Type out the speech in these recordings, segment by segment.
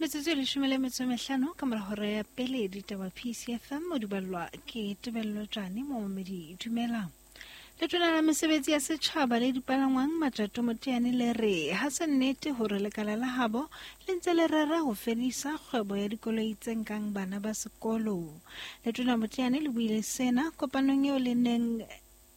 Metsotso e 15 ka mora hora ya pele ditaba PCFM o di ballwa ke Tebello Tjane momamedi dumelang. Letona la mesebetsi ya setjhaba le dipalangwang Matjato Moteane le re ha se nnete hore lekala la habo le ntse le rera ho fedisa kgwebo ya dikoloi tse nkang bana ba sekolo. Letona Moteane le buile sena kopanong eo le neng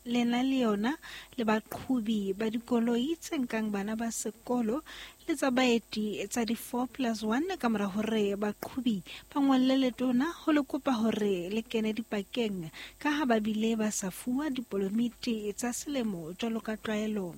le na le yona le baqhobi ba dikoloi tse nkang bana ba sekolo le tsa baeti tsa di-4 plus 1 ka mora hore baqhobi ba ngolle letona ho le kopa hore le kene dipakeng ka ha ba bile ba sa fuwa dipolomiti tsa selemo jwalo ka tlwaelo.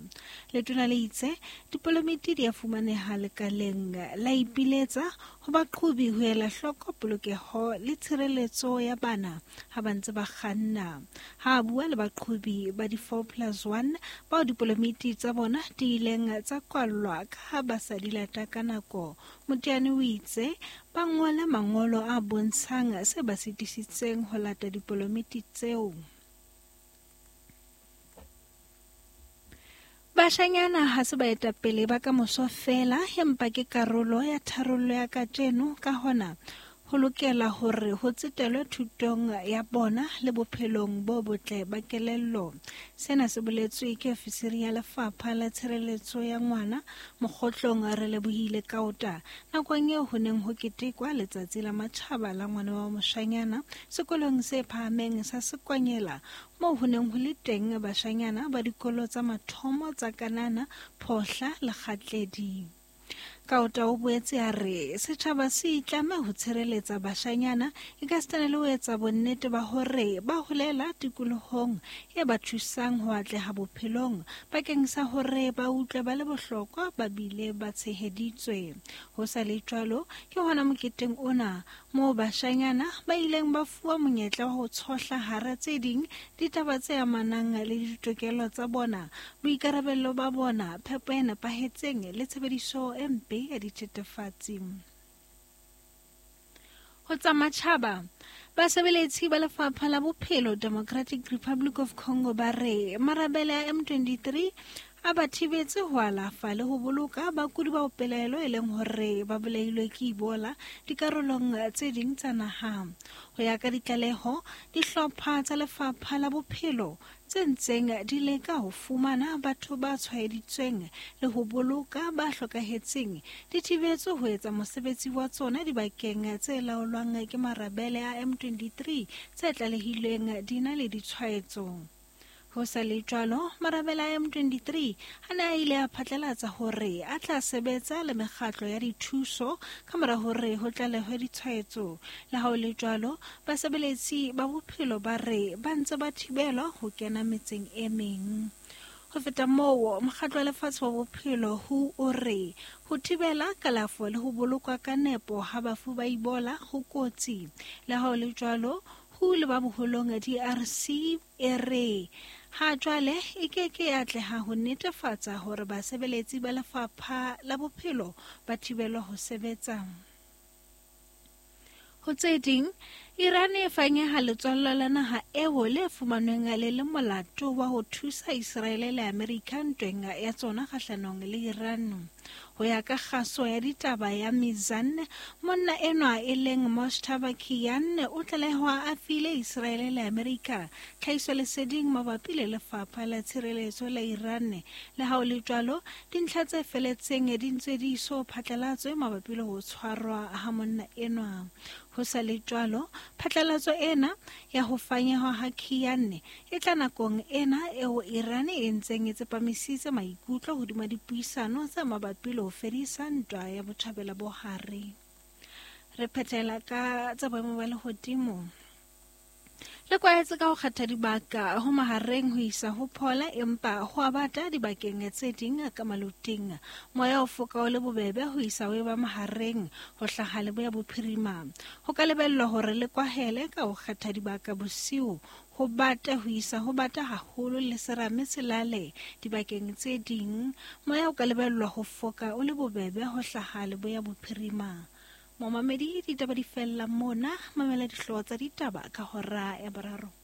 Letona le itse dipolomiti di a fumaneha lekaleng la ipiletsa ho baqhobi ho ela hloko polokeho le tshireletso ya bana ha ba ntse ba kganna. Ha a bua le baqhobi ba di-4 plus 1 bao dipolomiti tsa bona di ileng tsa kwallwa ka ha ba sa di lata ka nako, Moteane o itse ba ngole mangolo a bontshang se ba sitisitseng ho lata dipolomiti tseo. Bashanyana ha se baetapele ba ka moso feela, empa ke karolo ya tharollo ya kajeno, ka hona ho lokela hore ho tsetelwe thutong ya bona le bophelong bo botle ba kelello. Sena se boletswe ke ofisiri ya lefapha la tshireletso ya ngwana Mokgotlong Relebohile Kaota nakong eo ho neng ho ketekwa letsatsi la matjhaba la ngwana wa moshanyana sekolong se phahameng sa Sekwanyela, moo ho neng ho le teng bashanyana ba dikolo tsa mathomo tsa Kanana, Phohla le Kgatledi. Kaota o boetse a re setjhaba se itlame ho tshireletsa bashanyana ekasitana le ho etsa bonnete ba hore ba holela tikolohong e ba thusang ho atleha bophelong bakeng sa hore ba utlwe ba le bohlokwa ba bile ba tsheheditswe. Ho sa le jwalo, ke hona moketeng ona moo bashanyana ba ileng ba fuwa monyetla wa ho tshohla hara tse ding ditaba tse amanang le ditokelo tsa bona, boikarabello ba bona, phepo e nepahetseng le tshebediso e mpe ya dithethefatsi. Ho tsa matjhaba, basebeletsi ba lefapha la bophelo Democratic Republic of Congo ba re marabele a M23 a ba thibetse ho alafa le ho boloka bakudi bao pelaelo e leng hore ba bolailwe ke Ebola dikarolong tse ding tsa naha. Ho ya ka ditlaleho, dihlopha tsa lefapha la bophelo tse ntseng di leka ho fumana batho ba tshwaeditsweng le ho boloka ba hlokahetseng di thibetswe ho etsa mosebetsi wa tsona dibakeng tse laolwang ke marabele a M23 tse tlalehilweng di na le ditshwaetso. Ho sa le jwalo, marabele a M23 a ne a ile a phatlalatsa hore a tla sebetsa le mekgatlo ya dithuso ka mora hore ho tlalehwe ditshwaetso. Le ha ho le jwalo, basebeletsi ba bophelo ba re ba ntse ba thibelwa ho kena metseng e meng. Ho feta moo, mokgatlo wa lefatshe wa bophelo WHO o re ho thibela kalafo le ho bolokwa ka nepo ha bafu ba Ebola ho kotsi. Le ha ho le jwalo, WHO le ba boholong DRC e re ha jwale e ke ke ya atleha ho netefatsa hore basebeletsi ba lefapha la bophelo ba thibelwa ho sebetsa. Ho tse ding, Iran e fanyeha letswallo la naha eo le fumanweng le le molato wa ho thusa Israele le Amerika ntweng ya tsona kgahlanong le Iran. Ho ya ka kgaso ya ditaba ya Mizan, monna enwa e leng Mojtaba Kian o tlalehwa a file Israele le Amerika tlhahisoleseding mabapi le lefapha la tshireletso la Iran. Le ha ho le jwalo, dintlha tse feletseng di ntse di so phatlalatswe mabapi le ho tshwarwa ha monna enwa. Ho sa le jwalo, phatlalatso ena ya ho fanyehwa ha Kian e tla nakong ena eo Iran e ntseng e tsepamisitse maikutlo hodima dipuisano tse mabapi le ho fedisa ntwa ya Botjhabela bo Hare. Re phethela ka tsa boemo ba lehodimo. Le kwahetse ka ho kgetha dibaka ho mahareng ho isa ho phola, empa ho a bata dibakeng tse ding ka maloting. Moya o foka o le bobebe ho isa ho eba mahareng ho hlaha leboya bophirima. Ho ka lebellwa hore le kwahele ka ho kgetha dibaka bosiu ho bata ho isa ho bata haholo le serame se lale dibakeng tse ding. Moya o ka lebellwa ho foka o le bobebe ho hlaha leboya bophirima. Momamedi, ditaba di fella mona, mamela dihlooho tsa ditaba ka hora ya boraro.